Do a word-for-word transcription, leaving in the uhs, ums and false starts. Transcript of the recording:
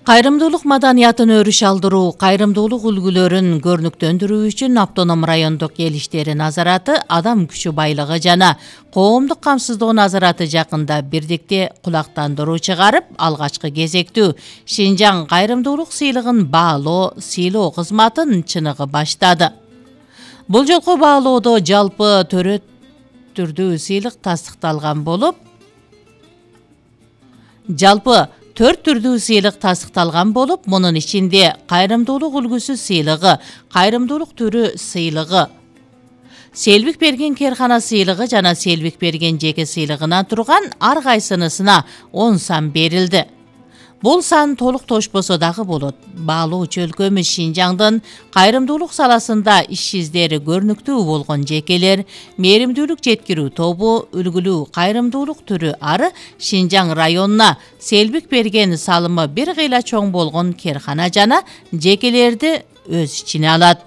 Кайрымдуулук маданиятын өрүш алдыруу, кайрымдуулук үлгүлөрүн көрнүктөндүрүү үчүн автоном райондук эл иштери назараты, адам күчү байлыгы жана коомдук камсыздоо назараты жакында бирдикте кулактандыруу чыгарып, алгачкы кезектүү Шинжаң кайрымдуулук сыйлыгын баалоо, сыйлоо кызматын чыныгы баштады. Бул жолку баалоодо жалпы төрөт түрдүү сыйлык тастыкталган болуп, жалпы төрт түрдүү сыйлык тастыкталган болуп, мунун ичинде кайрымдуулук үлгүсү сыйлыгы, кайрымдуулук түрү сыйлыгы, селбик берген керкана сыйлыгы жана селбик берген жеке сыйлыгынан турган ар кайсынысына он сан берилди. Бул сан толук тошпосо дагы болот. Баалоочу өлкөмүз Шинжаңдын кайрымдуулук саласында иш издери көрүнүктүү болгон жекелер, мээримдүүлүк жеткирүү тобу, үлгүлүү кайрымдуулук түрү ары Шинжаң районуна селбик берген салымы бир кыйла чоң болгон керкана жана жекелерди өз ичине алат.